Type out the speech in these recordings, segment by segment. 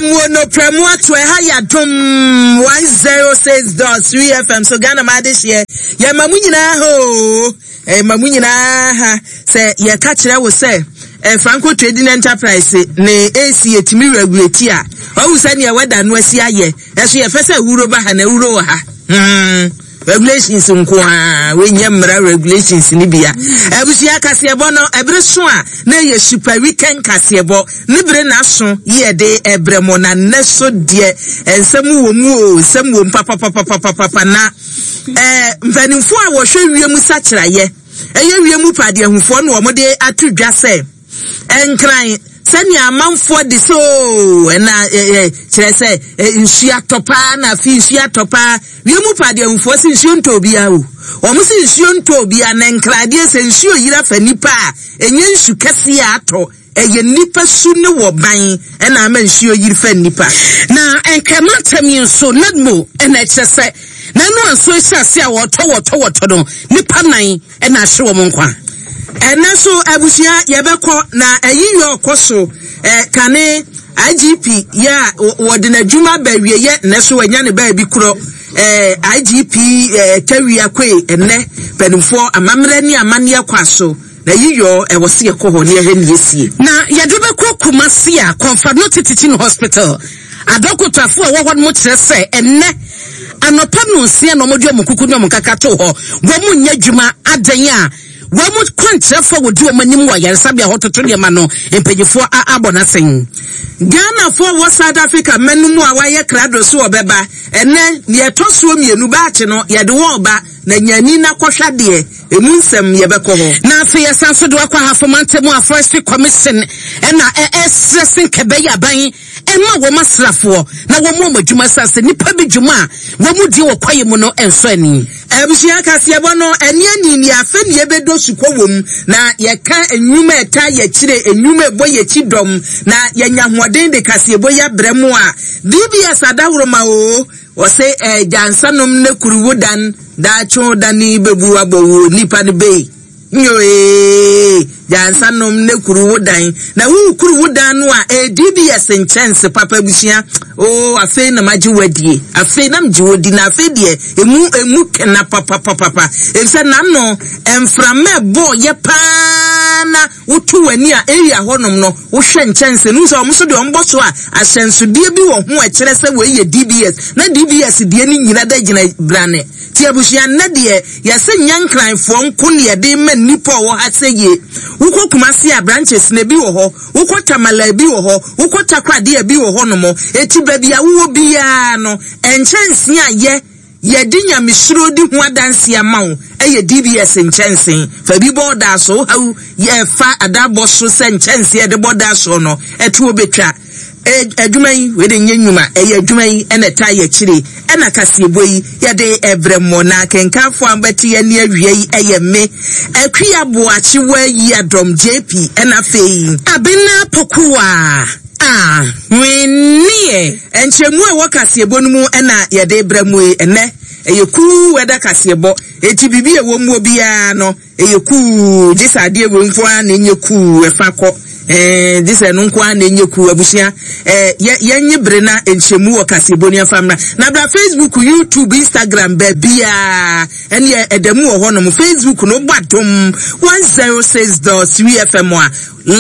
Emuo no prɛmo ato ɛha yɛ adom 106.3 FM so Ghana ma adehyeɛ yɛma mu nyinaa ha oo ɛma mu nyinaa ha sɛ yɛka kyerɛ wo sɛ eh, Franco Trading Enterprise ne AC ɛtumi regulate a ɔhu sɛ neɛ wɛda no asi ayɛ ɛso yɛfɛ sɛ awuro ba ha na awuro wɔ ha hmm. Regulations nko ara, wei nyɛ mmara regulations no bia. Abusua kaseɛbɔ no, ɛbere so a na ɛyɛ super weekend kaseɛbɔ. Ne bere na aso yɛ de ɛbrɛ mo na nnɛ so deɛ nsɛm wɔ mu o, nsɛm wɔ mu papapapapapa na ɛɛ mpanimfoɔ a wɔhwɛ wiem sakyerayɛ, ɛyɛ wiem padeahufoɔ na wɔde ato dwa sɛ Nkran, sɛnea amanfoɔ de sɛ oo ɛna ɛ kyerɛ sɛ nsuo atɔ paa na afei nsuo atɔ paa. Wiem pa deɛ nfoɔ se nsuo ntɔ obiara o. Wɔn se nsuo ntɔ obiara na nkran deɛ sɛ nsuo yira fa nipa a ɛnyɛ nsu kɛseɛ a atɔ ɛyɛ nipa su ne wɔ ban ɛna ama nsuo yiri fa nipa. Na Nkran mantam yi nso NADMO ɛna ɛkyerɛ sɛ n'ano anso ahyɛ ase a wɔtɔ wɔtɔ wɔtɔ no nipa nan na ahye wɔn nkwa. Ɛnnɛ nso abusua yɛbɛkɔ na ayi yɛ ɔkɔ so eh, kane IGP yɛ a wɔde n'adwuma ba awieɛ nnɛ so wanya ne baabi korɔ eh, IGP eh, Tawia Kwe ɛnnɛ mpanimfoɔ amammerɛ ne amanneɛ kɔ aso na yi yɔ ɛwɔ se yɛkɔ hɔ ne yɛhwɛ ne yɛsie. Na yɛde bɛkɔ Kumasi a Komfo-Anokye Teaching Hospital Adɔkotafo a ɛwɔ hɔ no kyerɛ sɛ ɛnnɛ anɔpa nnɔnsia na wɔde wɔn kuku ne wɔn nkaka too hɔ. Wɔn nyɛ adwuma adɛn a wɔn kwankyerɛfo a wɔdi wɔn anim wɔ ayaresabea hɔ toto nneɛma no mpanyinfoɔ abɔ n'asɛn. Ghanafoɔ a wɔ South Africa man no mu a wɔayɛ krado so wɔbɛba ɛnnɛ nea ɛtɔ soɔ mmienu baakye no yɛde wɔn reba na nya ani na kɔhwɛ adeɛ emu nsɛm yɛbɛkɔ hɔ. Na afei yɛsan nso de wakɔ Ahafo mantam a Forestry Commission ɛna ɛsrɛ se nkɛbɛyɛ aban Ɛmma wɔn asraafoɔ na wɔmmɔ wɔn adwuma ɛsiane sɛ nnipa bi dwuma a wɔdi wɔ kwaeɛ mu no nsɔ ani. Abusua kaseɛbɔ no, ɛne ani ne afe ne yɛbɛdɔ sukɔ wɔ mu, na yɛka nnwuma a ɛtaa yɛkyire, nnwuma a ɛbɔ yɛkyi dɔm, na yɛnya ahoɔden de kaseɛbɔ yi abrɛ mo a, DBS adaworoma oo, ɔse eh, gyansanom ne kuruwo dan, daakye dane bɛbu abɔ wo nipa no bei. Nyo ee, gya nsa nom ne kuru wo dan. Na wo kuru wo dan no a, ee DBS nkyɛnse papa abusua. Oo, afei na magye wo adie. Afei na megye wo di na afei deɛ emu emu kena papapapapa. Efisɛ n'ano mframa ɛbɔɔ yɛ paa na woto w'ani a area hɔnom no wohwɛ nkyɛnse no sɛ wɔn nso deɛ wɔn bɔ so a ahyɛnsodeɛ bi wɔ ho a ɛkyerɛ sɛ wei yɛ DBS na DBS deɛ no nyina da gyina brane. Ti abusua nnɛ deɛ Yɛse nyɛ Nkranfoɔ nko ne yɛde rema nnipa a ɔwɔ ha sɛ yie. Wokɔ Kumasi a branches no ebi wɔ hɔ, wokɔ Tamale a ebi wɔ hɔ, wokɔ Takoradi a ebi wɔ hɔ nom. Eti baabi a wowɔ biara no, nkyɛnsee a yɛ yɛde nyamesuro di ho adanseɛ ama wo yɛ DBS nkyɛnsee. Fa bi bɔ wo daa so, wo haw yɛ fa adabɔ so sɛ nkyɛnsee a yɛde bɔ daa soɔ no ɛtoɔ bɛtwa. E, adwuma yi, wei de nyɛ nnwuma, ɛyɛ adwuma yi na ɛtaa yɛ akyire, ɛna kaseɛbɔ yi yɛde ɛbrɛ mo, na akenkanfoɔ a mobɛte yɛn ne awia yi ɛyɛ me, Akua Boakye Wayi Adɔm JP, ɛna afei. Abena Pokuwa a Hwenneɛ. Nkyerɛmu a ɛwɔ kaseɛbɔ no mu ɛna yɛde brɛ mo yi, ɛnɛ ɛyɛ kuu ɛda kaseɛbɔ, enti biribi a ɛwɔ muo biara no, Ɛyɛ kuu, gye sɛ adeɛ wei nko ara na ɛnyɛ kuu, ɛfa kɔ. Ɛɛ, gye sɛ ɛno nko ara na ɛnyɛ kuu. Abusua, ɛɛ, yɛ, yɛnye bere na nkyɛmu wɔ kaseɛbɔ ni ɛmfa mmra. Na bra Facebook, YouTube, Instagram, baabiara, ɛneɛ ɛda mu wɔ hɔnom. Facebook no, wobɔ Adom 106.3 FM a,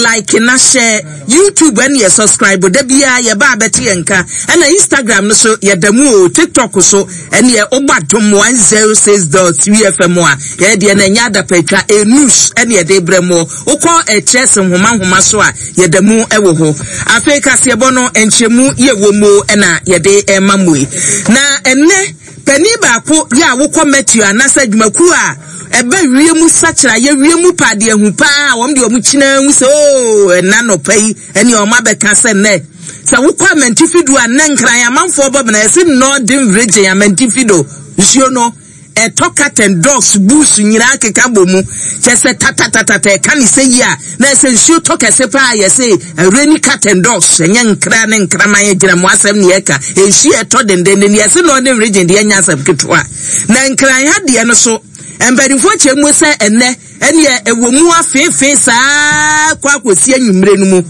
like na hyɛ. YouTube ɛneɛ subscribe, da biara yɛba abɛte yɛn nka. Ɛna Instagram no so, yɛda mu o. TikTok so, ɛneɛ wobɔ Adom 106.3 FM a, Yɛn deɛ no ɛnyɛ adapatwa, ɛyɛ news ɛne yɛde brɛ moɔ. Wokɔ kyerɛse nhoma nhoma so a, yɛda mu wɔ hɔ. Afei kaseɛbɔ no nkyerɛmu yɛ wɔ mu ɛna yɛde ɛma mo yi. Na ɛnɛ panin baako yɛ a wokɔ Meteo anaasɛ adwumakuo a ɛba wiem sakyera yɛ wiem pa adeɛ hu paa wɔn deɛ wɔn kyina hu sɛ oo ɛna nɔpa yi ɛne wɔn abɛka sɛ nnɛ sɛ wokɔ amantifi do a nnɛ nkran amanfoɔ bɔ bena ɛsɛ Northern Region amantifi do nsuo no Ɛtɔ carton, dogs, boots nyinaa keka bɔ mu. Kyerɛ sɛ tatatatata ɛka ne sɛ yi a, na ɛsɛ nsuo tɔ kɛse paa yɛse rainy carton dogs, ɛnyɛ nkra ne nkraman agyinamoa asɛm ne yɛka. Nsuo a ɛtɔ dendenden yɛse Northern Region deɛ ɛnyɛ asɛm ketewa. Na Nkran ha deɛ no so, mpanimfoɔ kyerɛ mu sɛ ɛnnɛ ɛneɛ ɛwɔ mu afeefee saa kɔ akɔsi anwummere no mu.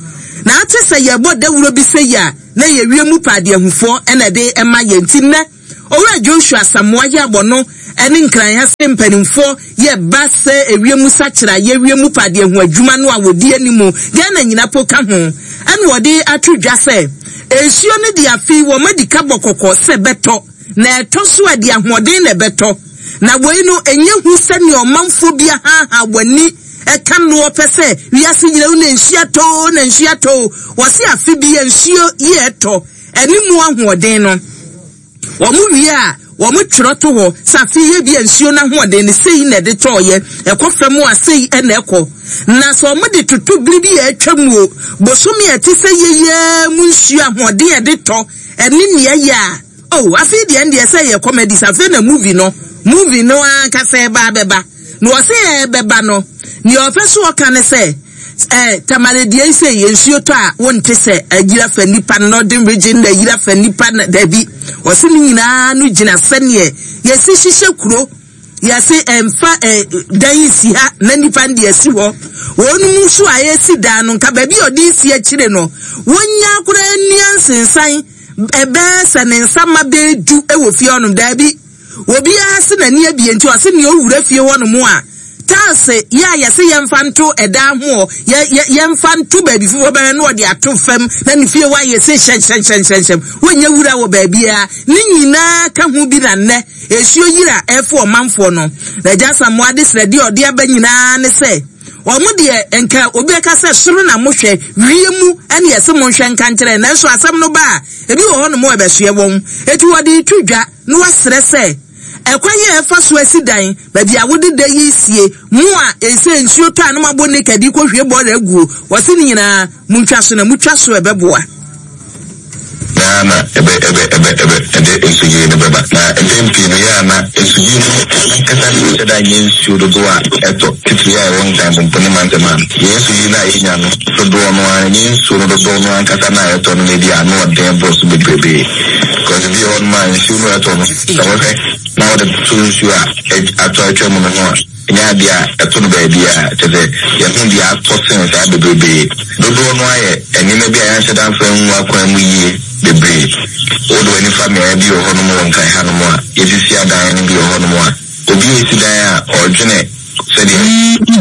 Na ate sɛ yɛbɔ dawuro bi sɛ yi a, na ɛyɛ wiem paadeahufoɔ na ɛde ma yɛn. Nti nnɛ, Owura Joshua Asamoah yɛ abɔ no ne Nkran ha sɛ mpanimfoɔ yɛ ba sɛ ewiem sakyera yɛ wiem paadeahu adwuma no a wɔdi anim, Ghana nyina po ka ho, ɛna wɔde ato dwa sɛ nsuo no deɛ afei wɔn adi ka bɔ kɔkɔ sɛ bɛtɔ. Na ɛtɔ so a, ɛde ahoɔden na ɛbɛtɔ. Na wei no, ɛnyɛ hu sɛnea ɔmanfoɔ bi ahaahaa wɔn ani ka noɔ pɛ sɛ wiase nyina hu na nsuo atɔ o, na nsuo atɔ o. Wɔse afe bi a nsuo yi a ɛtɔ, ɛne mu ahoɔden no, wɔn wie a, wɔtwerɛ to hɔ sɛ afe yi ebia nsuo no ahoɔden no sei na ɛde tɔɔeɛ, ɛkɔ fam a sei na ɛkɔ. Na sɛ wɔde toto bere bi a atwa mu o, bosome a ɛte sɛ yei ara mu nsuo ahoɔden a ɛde tɔ, ɛne nea ɛyɛ a, Oh afei deɛ ɛndeɛ sɛ yɛ comedies afei na movie no movie no ankasa ɛba abɛba na ɔse ɛbɛba no nea ɔpɛ so ɔka ne sɛ eh, tamale deɛ yi sɛ yɛ nsuo tɔ a wonte sɛ ayira fa nipa northern region na ayira fa nipa na dabi ɔse ne nyinaa no gyina sɛneɛ yɛsi hyehyɛ kuro yɛse ɛmfa eh, dan nsi ha na nipa no de asi hɔ wɔn mu so a ɛsi dan no nka baabi a ɔde si akyire no wɔnya koraa nnua nsensan Ɛbɛyɛ sɛ ne nsa mma bɛyɛ du wɔ fie hɔnom. Daabi, obiara se n'ani abue nti ɔse nea owura fie hɔnom a, tiles yɛ a yɛse yɛmfa nto ɛdan ho hɔ, yɛ, yɛ, yɛmfa nto baabi foforɔ bɛhwɛ na ɔde ato fam na ne fie hɔ ayɛ se hyɛnhyɛnhyɛnhyɛnhyɛm. Wonyɛ wura wɔ baabiara. Ne nyinaa ka ho bi na nnɛ nsuo yiri a ɛrefo ɔmanfoɔ no. Na Agya Asamoah adesrɛdeɛ a ɔde aba nyinaa ne sɛ, Wɔn deɛ, nka obi bɛka sɛ, Soro na mohwɛ, wiem ne yɛse monhwɛ nka nkyerɛ. Nanso asɛm no ba a, ebi wɔ hɔnom a ɛbɛsoɛ wɔn. Enti wɔde reto dwa na wɔasrɛ sɛ, Ɛkwan a ɛfa so asi dan, baabi a wode da yi sie, mo a ɛsɛ nsuo tɔ a na moabɔ naked rekɔhwie bɔɔla aguo, wɔse ne nyinaa Montwa so na motwa so a ɛbɛboa. Na na ɛbɛ ɛbɛ ɛbɛ ɛbɛ ɛde nsuyiri no bɛba. Na mpɛn pii no, yɛ a na nsuyiri no ankasa nhyɛ da nyɛ nsuo dodoɔ a ɛtɔ, titire a ɛwɔ Nkran Mpompo ne mantam ha no. Yɛn nsuyiri no a yɛnya no dodoɔ no ara, ɛnyɛ nsuo no dodoɔ no ankasa no a ɛtɔ no na ebi a ano ɔden boro so bebrebe. Because ebi wɔ hɔnom a nsuo no a ɛtɔ no, sɛ wohwɛ na wode toto nsuo a atɔ atwa mu no ho a, Ɛnyɛ adeɛ a ɛto no baabiara, kyerɛ sɛ, yɛahu deɛ atɔ sen saa bebrebe. Dodoɔ no ara yɛ nneɛma bi a yɛanhyɛ da amfa angu akwan mu yie bebree. Wode w'ani fa mmeaeɛ bi wɔ hɔnom wɔ Nkran hanom a, yɛasisi adan no bi wɔ hɔnom a, obi resi dan a, ɔredwene sɛdeɛ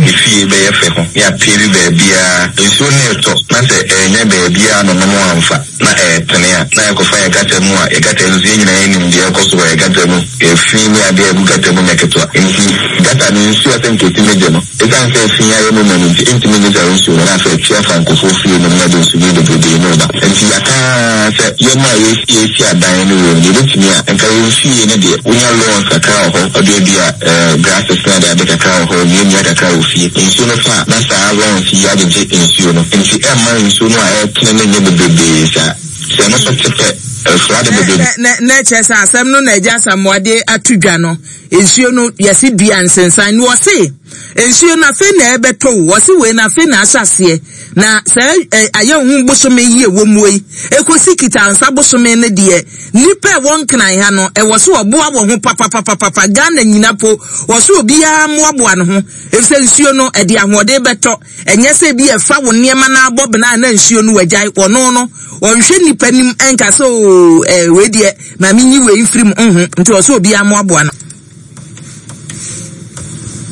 ne fie bɛyɛ fɛ ho, ne apeevi baabiara. Nsuo no retɔ na sɛ ɛrenya baabiara anonom amfa na ɛretene a, na yɛkɔfa yɛn gutter mu a, yɛn gutter nso yɛn nyinaa yɛnim deɛ ɛrekɔ so wɔ yɛn gutter mu. Efi ne ade a egu gutter mu nyɛ ketewa. Enti gutter no nsu a sɛ nka etumi gye no, esiane sɛ efi ayɛ mu ma no nti, entumi ngye saa nsu no, na afei atwi afa nkurɔfoɔ fie no mu na ɛde nsuyiri bebrebe no reba. Enti yɛaka ara sɛ yɛn a yɛresi adan no wei no, deɛ ebetumi a, nka yɛn fie no deɛ, wonya lawns kakra wɔ hɔ, wɔaduadua eh, grasses ne adeade kakra wɔ hɔ, nnuannua kakra wɔ fie. Nsuo no fa a, na saa lawns yi agyegye nsuo no. Enti ɛmma nsuo no a ɛretene no nyɛ bebrebe saa. Sɛ ɛno nso te pɛ, ɛfra de bebrebe. Na na kyerɛ sɛ asɛm no na Agya Asamoah de ato dwa no, nsuo no yɛse dua nsensan no wɔse nsuo no afei na ɛbɛtɔ o, wɔse wei no afei na ahyɛ aseɛ na saa ayɛ ho bosome yi ɛwɔ muo yi ɛkɔsi kitansa bosome no deɛ nnipa ɛwɔ nkran ha no ɛwɔ so ɔboa wɔ ho papapapapa Ghana nyina po wɔ so obiara mmoaboa ne ho ɛfisɛ nsuo no ɛde ahoɔden bɛtɔ Ɛnyɛ sɛ ebia ɛfa wo nneɛma no ara bɔ bena a na nsuo no wagyae. Ɔno no, ɔnhwɛ nnipa anim nka sɛ oo eh, wei deɛ ma menyi wei mfiri mu. Nho, nti ɔsɛ obiara mmoaboa no.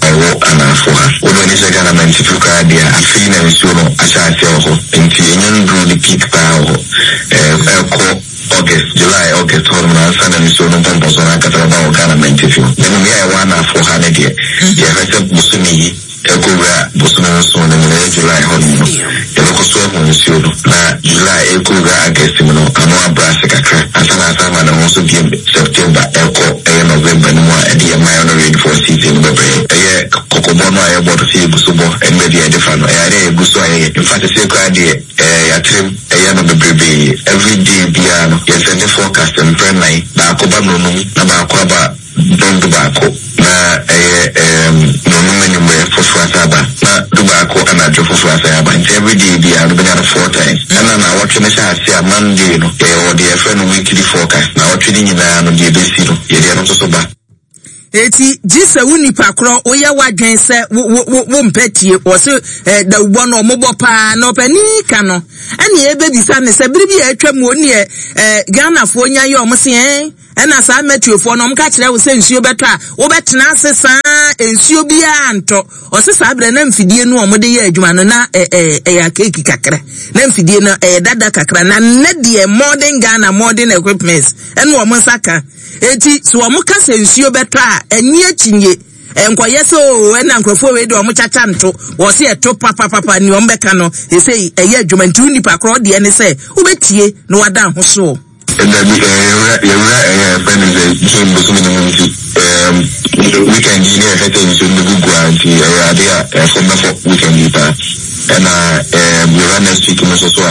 Ɛwɔ anaafoɔ ha. Wode w'ani kyerɛ Ghana mantifi koraa deɛ a, afei na nsuo no ahyɛ aseɛ wɔ hɔ. Nti ɛnya nnuruu ne peak paa wɔ hɔ. Ɛrekɔ August, July, August hɔnom no ansa na nsuo no mpɔmpɔnsoɔ no ankasa bɛba wɔ Ghana mantifi hɔ. Na mmom yɛ a ɛwɔ anaafoɔ ha no deɛ, yɛhwɛ sɛ bosome yi, Ɛrekɔwura bosome nson no mu no, ɛyɛ July hɔnom no, yɛbɛkɔ so ahu nsuo no. Na July ɛrekɔwura August mu no, ano abrɛ ase kakra ansa na asan ama ne ho so bio September ɛrekɔ ɛyɛ November no mu a ɛde yɛn minor rainfall season no bɛbrɛ yɛn. Ɛyɛ kɔkɔbɔ no a yɛbɔ no sɛ yɛgu so bɔ ɛne baabi a yɛde fa no, ɛyɛ adeɛ a yɛgu so a yɛyɛ. In fact, seesei koraa deɛ, ɛɛ yɛatrem ɛyɛ no bebrebee. Every day biara no, yɛsɛnde forecast mprɛ nnan, baako ba nnɔnum na baako aba Dɔn dubaako na ɛyɛ erm nnɔnum anwummerɛ foforɔ asan aba na dubaako anadwo foforɔ asan aba nti everyday biara no wobɛnya no four times. Ɛna naawɔtwe no hyɛ aseɛ a Monday no yɛwɔ deɛ yɛfrɛ no weekly forecast naawɔtwe no nyinaa no deɛ ɛbɛsi no yɛde ɛno nso so ba. Eti gye sɛ wo nipa korɔ woyɛ w'adwen sɛ wo wo wo wompɛ tie. Wɔse eh, dawubɔ no ɔmobɔ paa na ɔpanin ka no ɛne ɛbɛbisa ne sɛ bere bi a atwa mu oneɛ eh, Ghanafoɔ nya yɛ ɔmo se eh, ɛna saa mɛtuofoɔ no ɔmo ka kyerɛ wo sɛ nsuo bɛtɔ a wobɛtena ase saa nsuo biara ntɔ. Ɔse saa berɛ na mfidie no a wɔde yɛ adwuma no na ɛyɛ akeeki kakra, na mfidie no ɛyɛ dada kakra, na nnɛ deɛ modern Ghana modern equipments ɛna wɔn nsa ka. Enti sɛ wɔn ka sɛ nsuo bɛtɔ a ɛnye akyinnye, ɛnkɔyɛ sɛ oo ɛna nkurɔfoɔ wei deɛ wɔn kyakya nto, wɔse ɛto papapapa, nea wɔn bɛka no ɛsei ɛyɛ adwuma. Nti wo nipa korɔ deɛ ne sɛ wobɛtie na wada ho soɔ. Dabi, yɛwura yɛwura ɛyɛ yɛfrɛ no sɛ June bosome no mu nti ɛɛm weekend yi ne yɛhwɛ sɛ nsuo no bɛgu gu a nti ɛyɛ adeɛ a ɛfam bɛfɔ weekend yi paa ɛna ɛɛm yɛwura next week no nso so a.